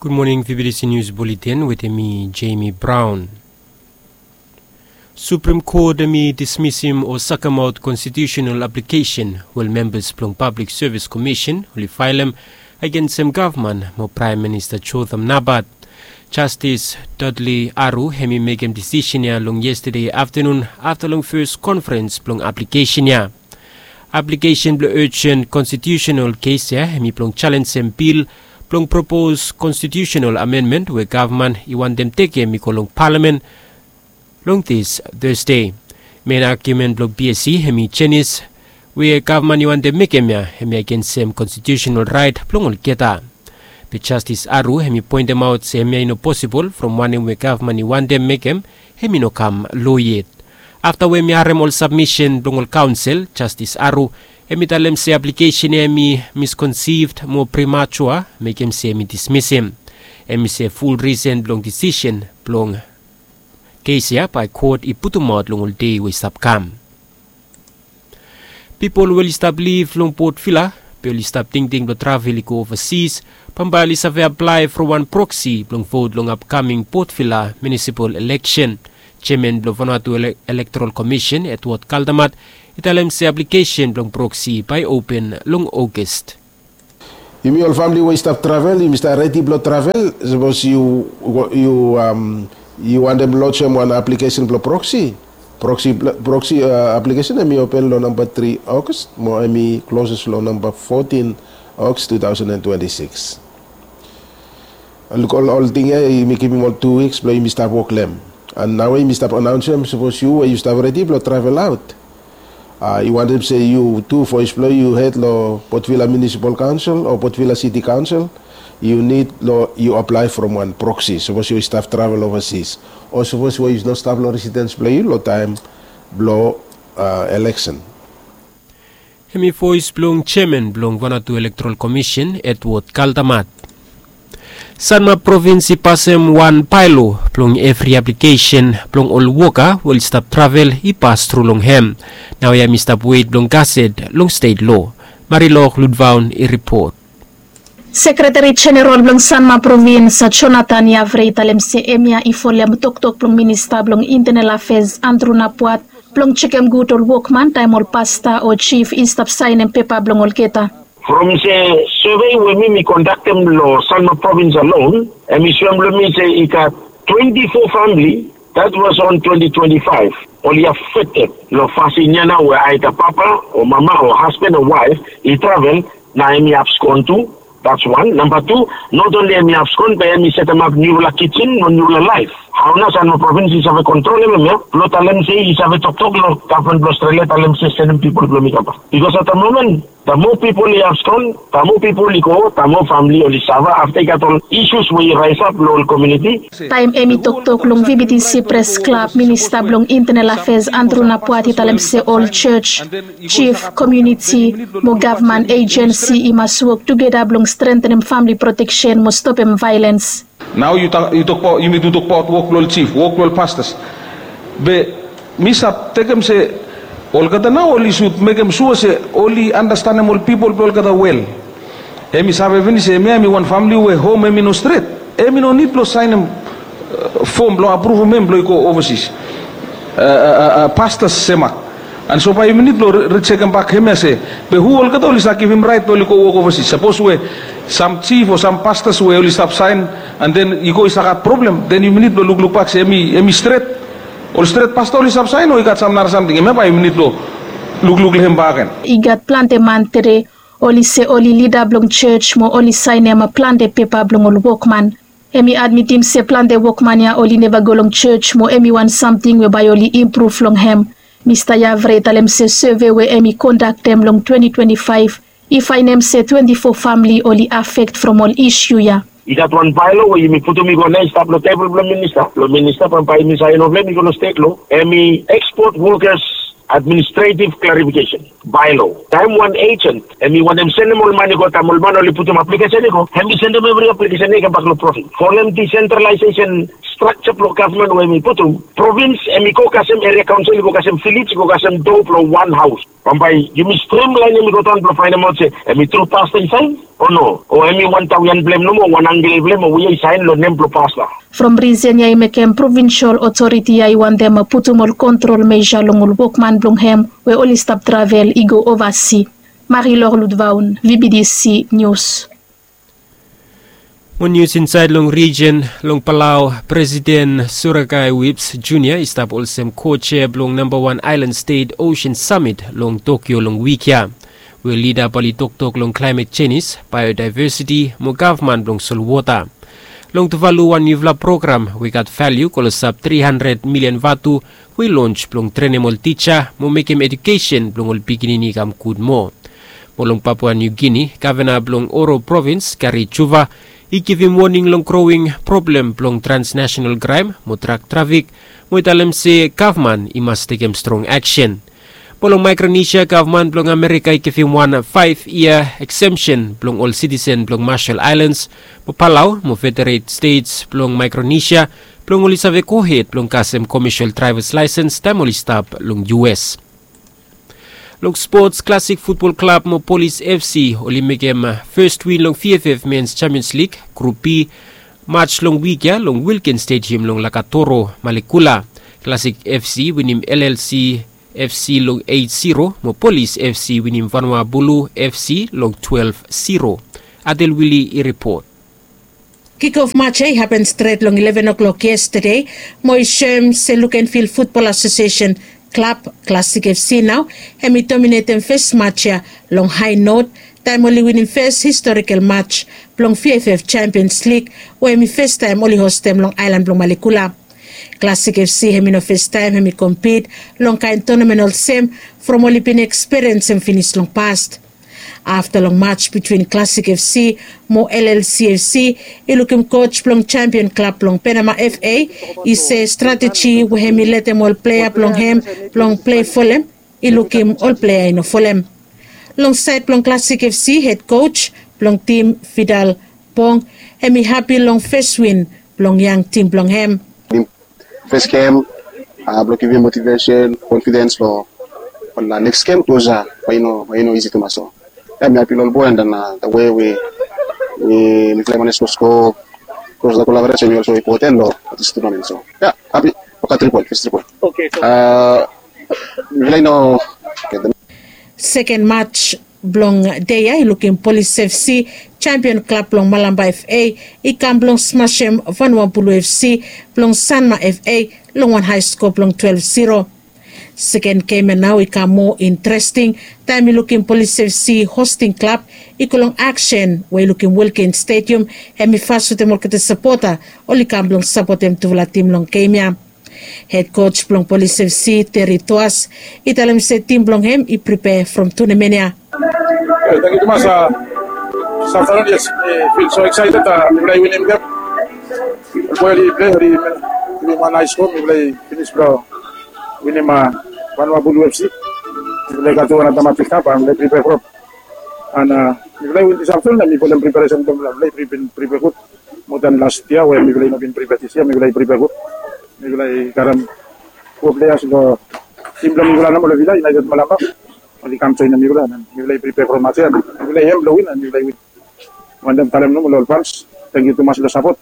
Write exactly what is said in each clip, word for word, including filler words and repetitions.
Gud moning, V B T C News Bulletin wetem mi, Jamie Brown. Supreme Court hemi dismisim o sakemaot konstitusenal aplikesen we ol membas blong Pablik Sevis Komisen oli faelem agensem gavman mo Praem Minista Jotham Napat. Jastis Dudley Aru hemi mekem disisen ya long yestade aftanun afta long fes konferens blong aplikesen ya. Aplikesen blong urjen konstitusenal kes ya hemi blong jalenjem bil blong propos konstitusenal amendmen we gavman i wantem tekem i go long palamen long dis Tasde. Men agiumen blong B S C hemi jenis we gavman i wantem mekem ya hemi agensem konstitusenal raet blong olgeta. Be Jastis Aru hemi poentemaot se hemia i no posibol from wanem we gavman i wantem mekem hemi no kam lo yet. Afta we hemi harem ol sabmisen blong ol kaonsel, Jastis Aru hemi talem se aplikesen ya hemi miskonsivd mo prematua, mekem se hemi dismisim. Hemi se ful risen blong disisen blong kes ya bae kot i putumaot long ol dei we i stap kam. Pipol we oli stap liv long Port Vila be oli stap tingting blong travel i go ovasis bambae oli save aplae from wan proksi blong vot long apkaming Port Vila munisipal eleksen. Jeaman blong Vanuatu Ele- Elektoral Komisen, Edward Kaldamat, i talem se aplikesen blong proksi bae open long August. Yumi ol famili we i stap travel, yumi stap redi blong travel. Sapos yu yu am yu wantem lojem wan aplikesen blong proksi, proksi proksi aplikesen hemi open long namba tri August mo hemi kloses long namba fotin August two thousand and twenty-six. Luk, ol ol ting ya yumi givim ol tu wiks blong yumi stap wok long hem. An naoia yumi stap anaonsem sapos yu we yu stap redi blong travel aot, a yu wantem se yu tu voes blong yu hed long Port Vila Munisipal Kaonsel o Port Vila Siti Kaonsel, yu nid long yu aplae from wan proksi sapos yu i stap travel ovasis o sapos we yu no stap long residens blong yu long taem blong a eleksen. Hemi voes blong jeaman blong Vanuatu Elektoral Komisen, Edward Kaldamat. Sanma Provins i pasem wan baelo blong evri aplikesen blong ol woka we oli stap travel i pas tru long hem. Naoia hemi stap wet blong gaset long stet lo. Marilok Ludvaon i ripot. Sekreteri Jeneral blong Sanma Provins, Jonathan Yavre, i talem se hemia i folem toktok blong Minista blong Intenal Afes, Andrew Napuat, blong jekem gud ol wokman taem ol pasta o jif i stap saenem pepa blong olgeta. From se sevei we mi mi kondaktem long Sanma Provins alon, hemi soem long mi se i gat twenti fo famili, that was on twenty twenty-five, oli afekted long fasin ya nao we aeda papa o mama o hasban o waef i travel, na hemi abskon tu. That's one. Namba tu, not only hemi abskon be hemi setemap niufala kijen mo niufala laef. Hao nao Sanma Provins i save kontrolem hemia blong talem se i save toktok long gavman blong Australia talem se sendem pipol blong mi kambak? Bikos at the moment, the more pipol i abskon, the more pipol i go, the more famili oli safa afta i gat ol isus we i raesap long ol komuniti. Taem hemi toktok long V B T C Pres Klab, Minista blong Intenal Afes Andrew Napuat i talem se ol jos, jif, komuniti mo gavman ejensi i mas wok tugeta blong strentenem famili proteksen mo stopem vaelens. Nao yu tokbaot, yumi tu tokbaot wok blong ol jif, wok blong ol pastas. Be mi stap tekem se olgeta nao oli sud mekem sua se oli andastanem ol pipol blong olgeta wel. Hemi save finis se hemia hemi wan famili we hom hemi no stret, hemi no nid blong saenem fom blong apruvum hem blong i go ovasis, pastas semak. An so bae yumi nid blong rijekem bak hemia se be hu olgeta oli save givim raet blong oli go wok ovasis? Sapos we sam jif o sam pastas we oli stap saen an den i go i save gat problem, den yumi nid blong lukluk bak se hemi stret, ol stret pasta oli stap saen o i gat sam nara samting, hemia bae yumi nid blong lukluk long hem bakegen. I gat plante man tede oli se oli lida blong jos mo oli saenem plante pepa blong ol wokman. Hemi admitim se plante wokman ya oli neva go long jos mo hemi wan samting we bae oli impruv long hem. Mista Yavre i talem se seve we hemi kondaktem long twenty twenty-five i faenem se twenty fo famili oli afekt from ol isu ya. I gat wan baelo we yumi putum i go nao i stap long tebol blong minista, blong minista bambae yumi saen long hem i go long stet lo. Hemi ekspot wokas administretiv klarifikesen baelo. Taem wan ejen hemi wantem sendem ol man i go, taem ol man oli putum aplikesen i go, hemi sendem evri aplikesen i kambak long provins. Folem disentralaesesen Strakja blong gavman we em i putum, provins em i go kasem eria kaonsel, i go kasem vilej, i go kasem do blong wan haos. Bambae yumi strimlaenem i go daon blong faenemaot se em i tru pasta i saen o no, o em i wan tawian blong em nomo, wan angkel blong em o we i saen long nem blong pasta. From risen ya i mekem provinsol otoriti ya i wantem putum ol kontrol meja long ol wokman blong hem we oli stap travel i go ovasi. Marilor Ludvaun, V B D C News. Mo nius insaed long rijen long Palau, Presiden Surakai Whipps Junior i stap olsem kochair blong namba wan aelan stet Ocean Summit long Tokyo long wik ya, we lida bae oli toktok long klaemet jenis, baeodivesiti mo gavman blong solwota. Long Tuvalu wan niufala program we i gat valiu klosap tri handred milian vatu we i lons blong trenem ol tija mo mekem ejukesen blong ol pikinini i kam gud moa. Mo long Papua New Guinea, gavana blong Oro provins, Gary Chuva, i givim woning long growing problem blong transnasenal kraem mo drak trafik, mo i talem se gavman i mas tekem strong aksen. Mo long Maekronesia, gavman blong Amerika i givim wan faef yia eksemsen blong ol sitisen blong Marshall Islands, mo Palau mo Federated States blong Maekronesia, blong oli save gohed blong kasem komesel draevas laesens taem oli stap long U S. Long spots, Klasik Futbol Klab mo Polis F C oli mekem fes win long V F F Men's Champions League Grup B match long wik ya long Wilkins Stadium long Lakatoro, Malekula. Klasik F C winim L L C F C long eit ziro, mo Polis F C winim Vanua Bulu F C long twelef ziro. Adel Wili i ripot. Kikof match ya i hapen stret long ileven o'klok yestade, mo i soem se Lukenvil Futbol Asosiesen klab, Klasik F C nao, hem i dominetem fes match ya long hae not, taem oli winim fes historikal match blong V F F Champions League, we hem i fes taem oli hostem long aelan blong Malekula. Klasik F C hem i no fes taem hem i kompit long kaen tonamen olsem, from oli bin ekspiriensem finis long past. Afta long match bitwin Klasik F C mo L L C F C, i lukim koj blong Champion Klab blong Penama F A i se strateji we hem i letem ol plea blong hem blong plei folem, i lukim ol plea i no folem. Long saed blong Klasik F C, hed koj blong tim, Fidal Pong, hem i hapi long fes win blong yang tim blong hem. Fes gem, blong givim motivesen, konfidens long ol neks gem, bikos bae i no isi tumas. So ya mi hapi long ol boe, and then the way we mifala i manej go sko, bikos the collaboration i also important long this tournament. So ya, hapi. Oke, tri poen, fes tri poen. Oke, so mifala i no. Seken match blong dei ya i lukim Polis F C, Champion Klab blong Malampa F A, i kam blong smasem Vanua Bulu F C blong Sanma F A long wan hae skoa blong twelef ziro. Seken gem ya nao i kam moa interesting taem i lukim Polis F C hosting klab i go long aksen we i lukim Wilkins Stadium hem i fas wetem olgeta sapota oli kam blong sapotem tufala tim long gem ya. Hed koj blong Polis F C, Terry Toas, i talem se tim blong hem i pripea from tonamen ya. Tangkiu tumas. Yes, mi fil so eksaeted, mifala i winim gem. Ol boe oli plei, oli givim wan naes go, mifala i finis blong winim Vanua Bulu F C. Mifala i gat tu another match i kam, mifala i pripea from. And mifala i win this afternoon, and mifala i preparesen blong mifala i pripea gud. Moa dan last yia we mifala i no bin pripea, this yia mifala i pripea gud. Mifala i karem foa pleas long tim blong mifala nomo long Vila, United Malampa. Oli kam joenem mifala, and mifala i pripea from match ya, and mifala i hem blong win, and mifala i win. Wantem talem nomo long ol fans, tangkiu tumas long sapot.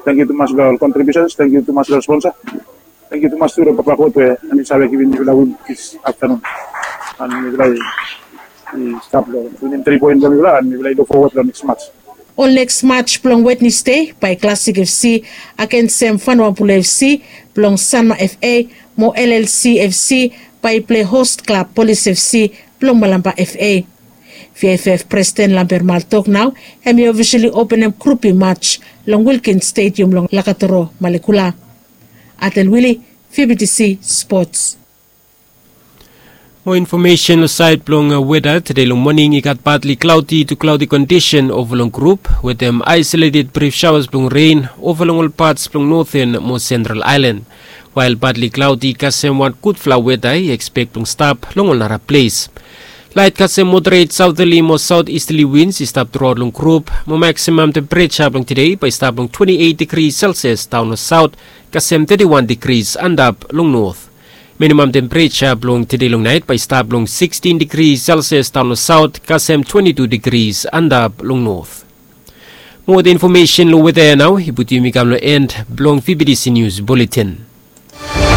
Tangkiu tumas long ol kontribiusens, tangkiu tumas long ol sponsa. Tangkiu tumas tu long Papa God we hem i save givim mifala win this afternoon. And mifala i stap long winim tri poen blong mifala, and mifala i luk fowod long neks match. Ol neks match blong Wednesde bae Klasik F C agensem Vanua Bulu F C blong Sanma F A, mo L L C F C bae i plei host klab Polis F C blong Malampa F A. V F F Presiden Lamber Mal Tok nao hem i ofisali openem Grup B match long Wilkins Stadium long Lakatoro, Malekula. Adel Wili, V B T C Sports. Moa infomesen long saed blong weda. Tede long moning i gat partly cloudy to cloudy kondisen ova long grup wetem isolated brief showers blong ren ova long ol pats blong Noten mo Sentral Aelan. Wael partly cloudy i kasem wan gudfala weda i ekspek blong stap long ol nara ples. Lait kasem moderet saoterli mo saot istali wins i stap truaot long grup, mo maksimam tempereja blong tede bae i stap long twenti eit digri selsias daon long saot, kasem teti wan digri antap long not. Minimam tempereja blong tede long nait bae i stap long sikstin digri selsias daon long saot, kasem twenti tu digri antap long not. Mo wetem infomesen long weta ya nao i putum yumi kam long en blong vbtc nius buletin.